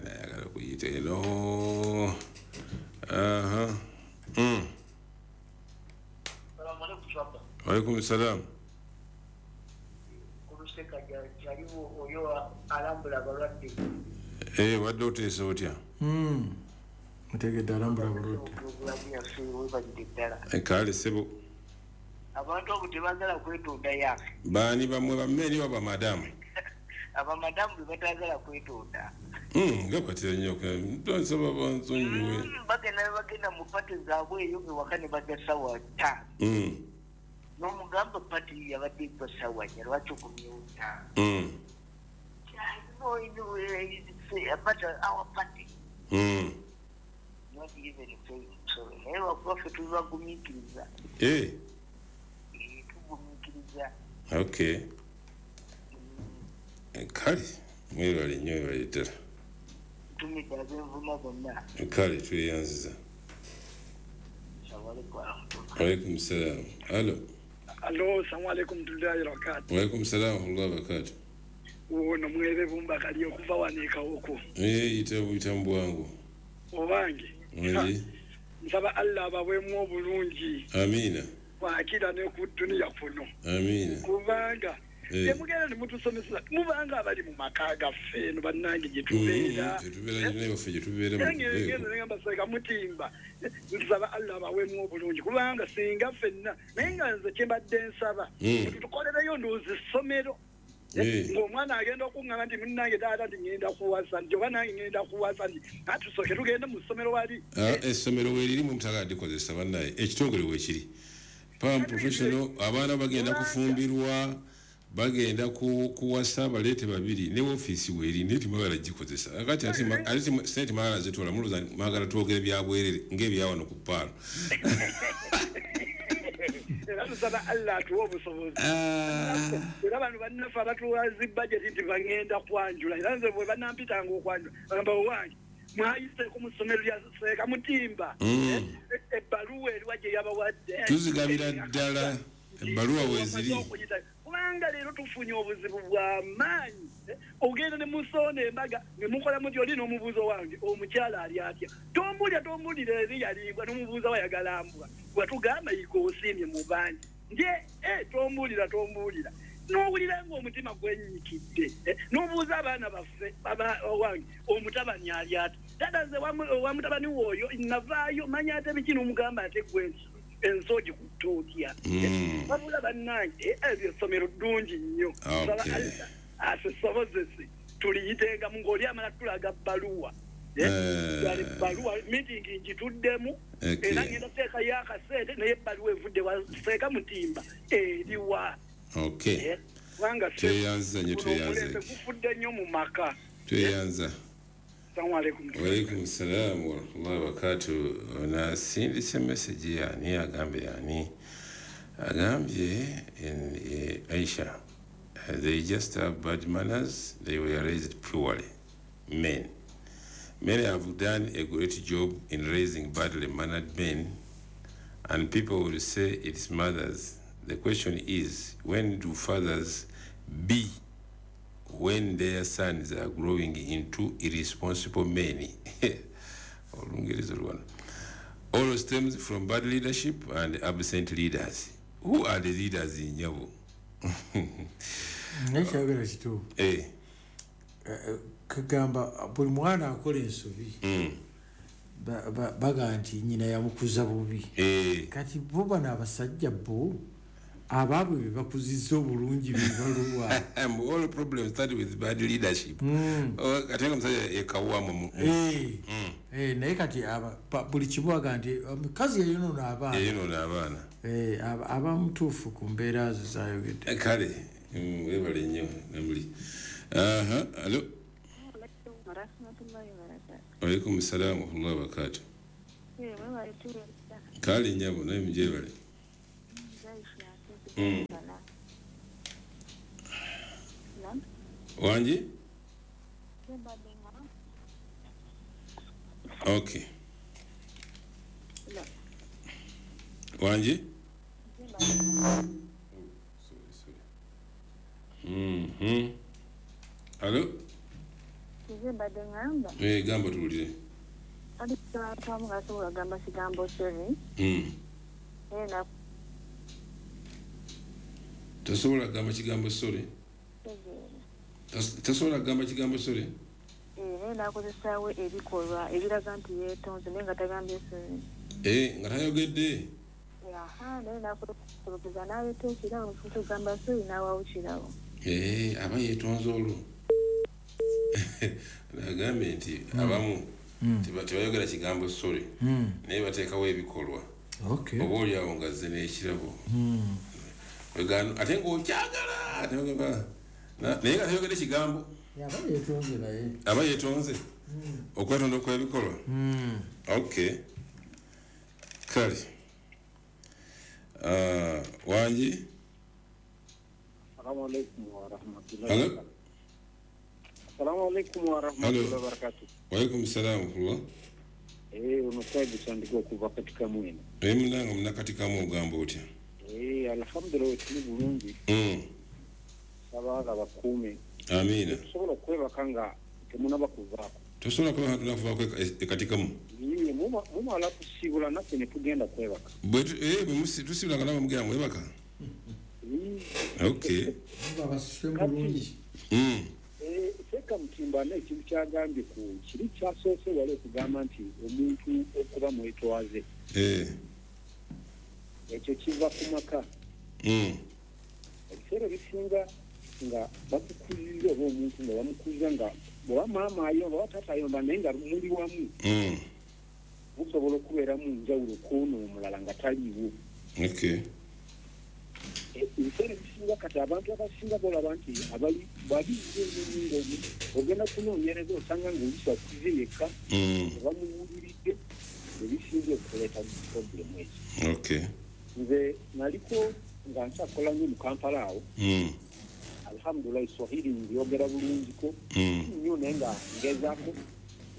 nayagala okuyita eno. Alaikum salam. Wadde oteesa otya? Ntegedde alambula abalwadde. Kale ssebo. Abantu abo tebagala kwetonda yaffe. Baani bamwe bammeri oba madamu? Abamadamu be batagala kwetonda. Nga batera nnyo nsaba bansonyiwe. Bagenda mu pati zaabwe eyo ewaka ne bajja ssaawa 5. N'omugamba pati yabadde eggwa ssaawa 4 lwaki okomyewo 5? But our party. Not even saying sorry. Naye lwakuba ffe tubagumiikiriza. Tugumiikiriza. Okay. Kale mwebale nnyo mwebale ddala. Ntumidde ab'envuma bonna. Kale tweyanziza. Alaikum salam. Alo. Alo, salamu alaikum warahmatullahi wabarakatuh. Wa alaikum salam warahmatullahi wabarakatuh. Ono mwebe bumba kali okuva wano e Kawoko. Ita mbwangu. Obange. Nsaba Allah abaweemu obulungi. Amina. Wakira ne ku duniya kuno. Amina. Kubanga temugenda ne mutusomesa mubanga abali mu maka gaffe eno bannange gye tubeera. Gye tubeera nyine waffe gye tubeera mu. Ngamba Seeka Mutimba. Nsaba Allah abaweemu obulungi kubanga singa ffenna naye nga nze kye mbadde nsaba. Tutukolereyo ndowooza essomero. Ng'omwana agenda okuŋŋamba nti munnange taata nti ŋŋenda kuwasa nti oba nange ŋŋenda kuwasa nti atusooke tugende mu ssomero wali. Essomero weeriri mwe mutagala likozesa bannaye ekitongole weekiri. Pam professional abaana bagenda kufumbirwa bagenda kuwasa baleete babiri ne ofiisi weeri naye temwagala gikozesa. Kati ate sente mwagala zitwala mulowooza mwagala twogere byabwerere ng'ebyawano ku ppaalo. Era tusaba Allah atuwe obusobozi. Era bano bannaffe abatuwa zi budget nti bagenda kwanjula. Era nze bwe banampitanga okwanjula bagamba owange mwayiseeko mu ssomero lya Seeka Mutimba. Ebbaluwa eriwa gye yabawadde. Tuzigabira ddala ebbaluwa weeziri. Kubanga leero tufunye obuzibu bwa maanyi. Ogenda ne musoona embaga ne mukola muti oli n'omubuuzo wange omukyala ali atya. Tombulira tombulira eri yaliibwa n'omubuuza wayagala mbwa. Watugamba yiga osiimye mu bangi. Nje tombulira tombulira. N'owulira ng'omutima gwennyikidde. N'obuuza abaana baffe wange omutabani ali atya. Taata nze wa mutabani w'oyo navaayo manya ate biki n'omugamba ate gwe ensi ogikutte otya. Wabula bannange eryo essomero ddungi nnyo. Atusobozese tuliyitengamu ng'oli amala tulaga bbaluwa. Ebbaluwa meeting ngituddemu era ngenda kuteekayo akasente naye ebbaluwa evudde wa Seeka Mutimba eriwa. Okay. Kubanga tweyanza nnyo tweyanza. Omulembe gufudde nnyo mu maka. Tweyanza. Assalamu alaikum. Wa alaikum salam wa rahmatullahi wa barakatuh. Nasindise message yani agambye yani agambye Aisha. They just have bad manners. They were raised poorly. Men. Men have done a great job in raising badly mannered men, and people will say it's mothers. The question is, when do fathers be when their sons are growing into irresponsible men? All stems from bad leadership and absent leaders. Who are the leaders in Nyabo? Nekyayogera kituufu. Kagamba buli mwana akola ensobi baga nti nnyina yamukuza bubi. Kati bo bano abasajja bo Abaabwe be bakuzizza obulungi bebaluwa. All problems start with bad leadership. Ate nga omusajja yekawuwamu. Naye kati buli kimu aga nti omukazi yayonoona abaana. Yayonoona abaana. Aba mutuufu ku mbeera zo zayogedde. Kale webale nnyo namuli. Alo. Waalaikum salaam wa rahmatullahi wa barakatuh. Kale nnyabo naye mugyebale. Wangi? Okay. Wangi? Sorry. Alo? Gamba tuwulire. Tasobola kugamba kigambo sorry. Tasobola kugamba kigambo sorry. Naye n'akozesaawo ebikolwa ebiraga nti yeetonze naye nga tagambye sorry. Nga tayogedde. Naye n'akozesa n'aleeta ekirabo kugamba sorry n'awaawo kirabo. Aba yeetonze olwo. Nagambye nti abamu tebayogera kigambo sorry naye bateekawo ebikolwa. Oba oli awo nga azze n'ekirabo. Ate ng'okyagala naye nga tayogedde kigambo. Aba yeetonze okwetonda okw'ebikolwa. Okay. Kale wangi. Assalamu alaikum wa rahmatullahi. Assalamu alaikum wa rahmatullahi wa barakatuh. Wa alaikum salam wa rahmatullah. Omusajja sandika okuva katika mwena. Munange munakatika ogamba otya? Alhamdulillah tuli bulungi. Sabaga bakuume. Amina. Tusobola okwebaka nga temunaba kuvaako. Tosobola kwebaka tunakuvaako ekatikamu? Mumala kusibula naffe ne tugenda kwebaka. Bwe tusibula nga nabo mugenda mwebaka? Okay. Bulungi. Seeka Mutimba n'ekintu kyagambye ku kiri kyasoose wali okugamba nti omuntu okuba mwetwaze. Ekyo kiva ku maka. Ebiseera ebisinga nga bakukulira oba omuntu nga bamukuza nga bw'oba maama ayomba oba taata ayomba naye nga muli wamu. Musobola okubeeramu njawulo kw'ono omulala nga taliiwo. Okay. Ebiseera ebisinga kati abantu abasinga bolaba nti abali babi nnyo ogenda kunoonyereza osanga ng'oluusi akuze yekka tebamuwuliridde ebisinga okuleeta problemu ezo. Okay. Nze naliko nga nkyakola nnyo mu Kampala awo. Alhamdulillah Swahili mbyogera bulungiko nnyo naye nga ngezaako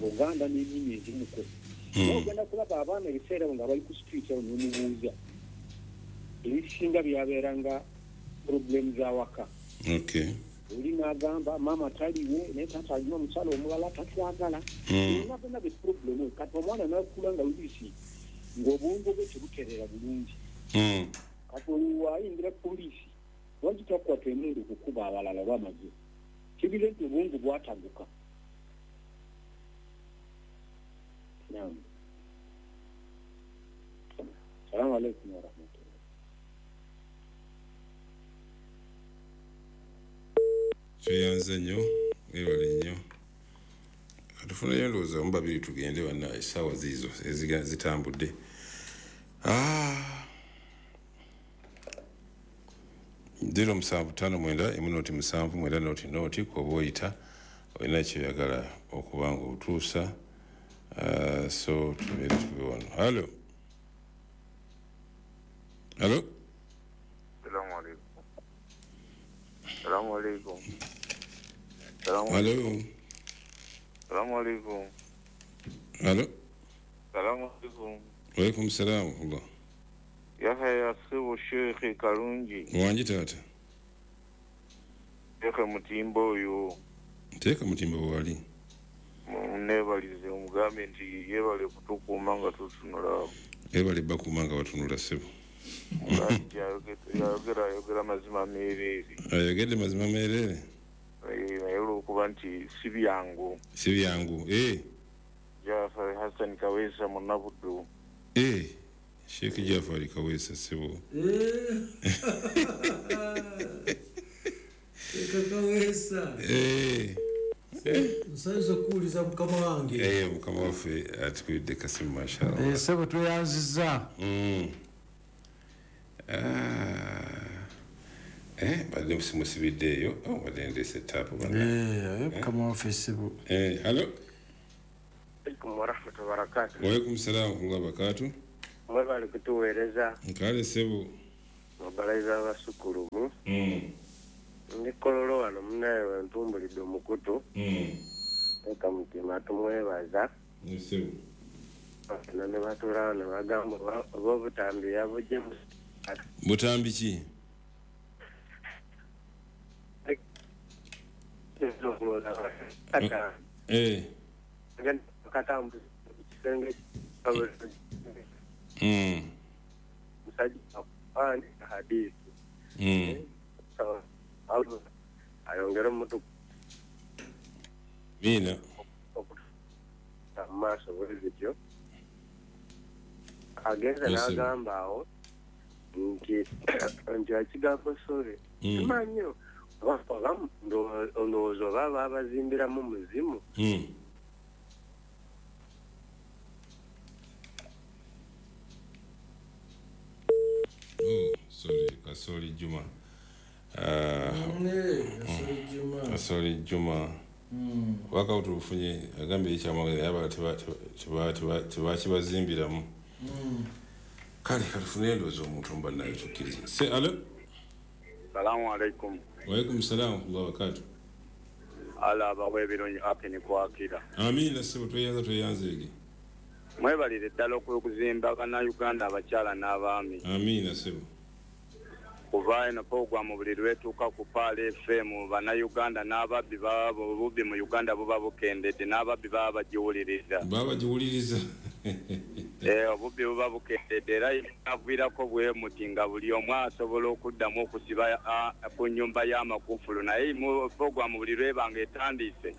Luganda n'ennimi ezimuko. Ogenda kulaba abaana ebiseera nga bali ku street awo n'omubuuza ebisinga byabeeranga problemu z'awaka. Okay. Oli n'agamba maama taliwo naye taata alina omukyala omulala tatwagala. Byonna be problemu kati omwana n'akula nga luisi ng'obwongo bwe tebutereera bulungi. Kati olwo ayingira poliisi lwaki takwata emmundu okukuba abalala oba amagye? Kibira nti obwongo bwataguka. Naam. Salamu alaikum wa rahmatullah. Tweyanze nnyo, webale nnyo. Katufuneyo ndowooza omu babiri tugende banna essaawa ziizo zitambudde. 0759 0 7 9 0 kwoba oyita olina kyoyagala okuba nga otuusa. So tubeere tuve wano. Halo. Halo. Salamu alaikum. Salamu alaikum. Halo. Salamu alaikum. Halo. Salamu alaikum. Wa alaikum salam wa rahmatullah. Yahya Sibu Sheikh Kalungi. Wangi taata. Teeka Mutimba oyo. Teeka Mutimba wali. Neebalize omugambe nti yeebale kutukuuma nga tutunula. Yeebale bakuuma nga batunula ssebo. Yayogera ayogera mazima meereere. Ayogedde mazima meereere? Naye olw'okuba nti si byangu. Si byangu, Jafar Hassan Kaweesa Munnabuddu. Sheikh Jafari Kaweesa ssebo. Kaweesa. Nsanyusa okuwuliza mukama wange. Mukama waffe atukubidde kasimu mashallah. Ssebo tweyanzizza. Badde simusibidde eyo. Badde ndeese taapu bana. Mukama waffe ssebo. Hello. Alaikum warahmatullahi wabarakatuh. Wa alaikum salaam warahmatullahi wabarakatuh. Mwebale kutuweereza. Nkale ssebo. Mubalayiza abasukulumu. Ndi Kololo wano munnaye wentumbulidde omukutu. Eka Mutima tumwebaza. Ssebo. Bano ne batuula ne bagamba oba obutambi yabugye. Butambi ki? Ayongera omutu Mina maaso bwe bityo agenze n'agamba awo nti ekigambo sore simanyi oba ndowooza oba baabazimbiramu muzimu. Oh, sorry, Kasoli Juma. Kasoli Juma. Waka utufunye agambye ekyamagezi aba tebakibazimbiramu. Kale katufune endowooza omuntu mba naye tukkirize. Se alo. Salamu alaikum. Wa alaikum salaam wa rahmatullahi wa barakatuh. Ala abawe ebirungi apini kwakira. Amiina ssebo tweyanza tweyanzeege. Mwebalire ddala okuzimba bannayuganda abakyala n'abaami. Amiina ssebo. Kuva eno pogwamu buli lwetuuka ku Pearl FM bannayuganda n'ababbi baba obubbi mu Uganda buba bukendedde n'ababbi baba bagiwuliriza. Baba bagiwuliriza. Obubbi buba bukendedde era aviirako bwe muti nga buli omu asobola okuddamu okusiba ku nnyumba y'amakufulu naye pogwamu buli lwebanga etandise.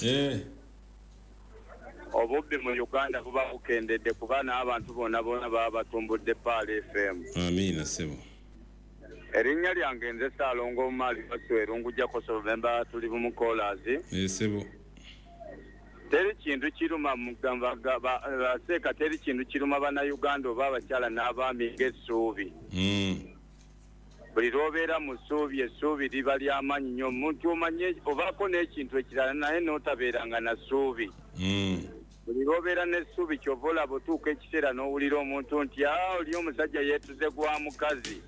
Obubbi mu Uganda buba bukendedde kuba n'abantu bonna bonna baba batumbudde Pearl FM. Amiina ssebo. Erinnya lyange nze Ssaalongo Omali Basweru ngujjako Novemba tuli bumukoolaazi. Ssebo. Teri kintu kiruma baseeka teri kintu kiruma bannayuganda oba abakyala n'abaami ng'essuubi. Buli lw'obeera mu ssuubi essuubi liba ly'amaanyi nnyo omuntu omanye obaako n'ekintu ekirala naye n'otabeeranga na ssuubi. Buli lw'obeera n'essuubi ky'ova olaba otuuka ekiseera n'owulira omuntu nti oli omusajja yeetuze gwa mukazi.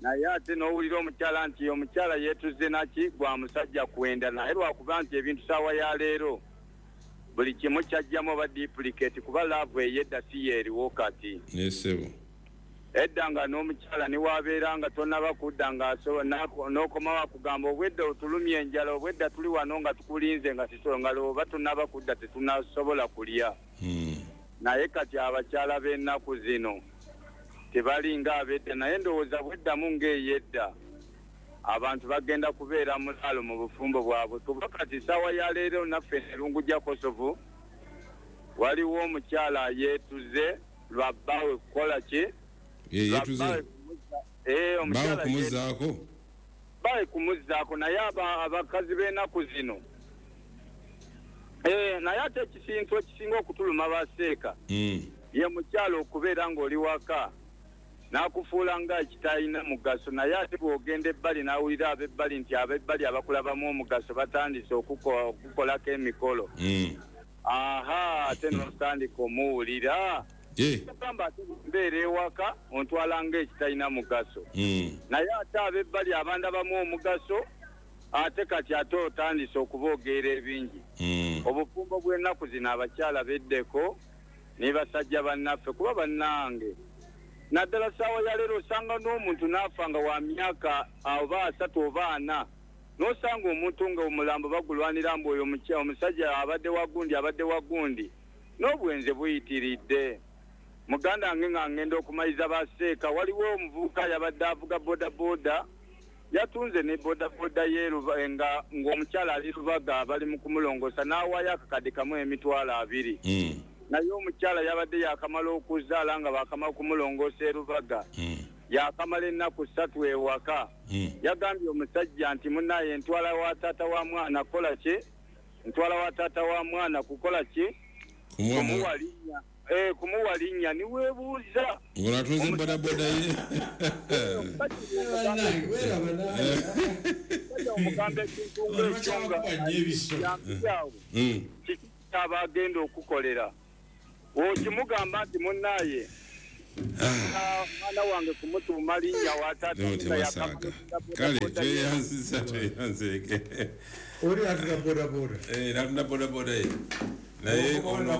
Naye ate n'owulira omukyala nti omukyala yeetuze naki gwa musajja kwenda naye lwakuba nti ebintu ssaawa ya leero buli kimu kyajjamu oba duplicate kuba laavu ey'edda si yeeriwo kati. Ssebo. Edda nga n'omukyala ne waabeera nga tonnaba kudda nga n'okomawo akugamba obwedda otulumya enjala obwedda tuli wano nga tukulinze nga nga oba tonnaba kudda tetunasobola kulya. Naye kati abakyala b'ennaku zino tebalinga ab'edda naye ndowooza bweddamu ng'ey'edda abantu bagenda kubeera mulaalo mu bufumbo bwabwe kuba kati ssaawa ya leero naffe Erungujja Kosovo waliwo omukyala yeetuze lwa bbaawe kukola ki? Yeetuze. Omukyala kumuzzaako. Bbaawe kumuzzaako naye abakazi b'ennaku zino. Naye ate ekisintu ekisinga okutuluma baseeka ye mukyala okubeera ng'oli waka n'akufuula nga ekitalina mugaso naye ate bw'ogenda ebbali n'awulira ab'ebbali nti ab'ebbali abakulabamu omugaso batandise okukolako emikolo. Aha ate n'otandika omuwulira. Ogamba ate mbeera ewaka ontwala nga ekitalina mugaso. Naye ate ab'ebbali abandabamu omugaso ate kati ate otandise okuboogera ebingi. Obufumbo bw'ennaku zino abakyala beddeko ne basajja bannaffe kuba bannange. Naddala ssaawa ya leero osanga n'omuntu n'afa nga wa myaka oba 3 oba 4 n'osanga omuntu nga omulambo bagulwanira mbu oyo omusajja abadde wa gundi n'obwenze buyitiridde. Muganda wange nga ngenda okumaliriza baseeka waliwo omuvubuka yabadde avuga bodaboda yatunze ne bodaboda ye nga ng'omukyala ali Lubaga bali mu kumulongoosa n'awaayo akakadde kamu 20,000. Naye omukyala yabadde yakamala okuzaala nga bakamala kumulongoosa erubaga. Yakamala ennaku 3 ewaka. Yagambye omusajja nti munnaye ntwala wa taata wa mwana kukola ki? Ntwala wa taata wa mwana kukola ki? Kumuwa linnya. Kumuwa linnya niweebuuza. Ng'onatuuze bodaboda ye. Omugamba ekintu ng'ekyo nga kiki kyaba agenda okukolera. Okimugamba nti munnaye mwana wange kumutuuma linnya wa taata. Kale tweyanziza tweyanzeeke. Oli atunda bodaboda. Natunda bodaboda ye. Naye ono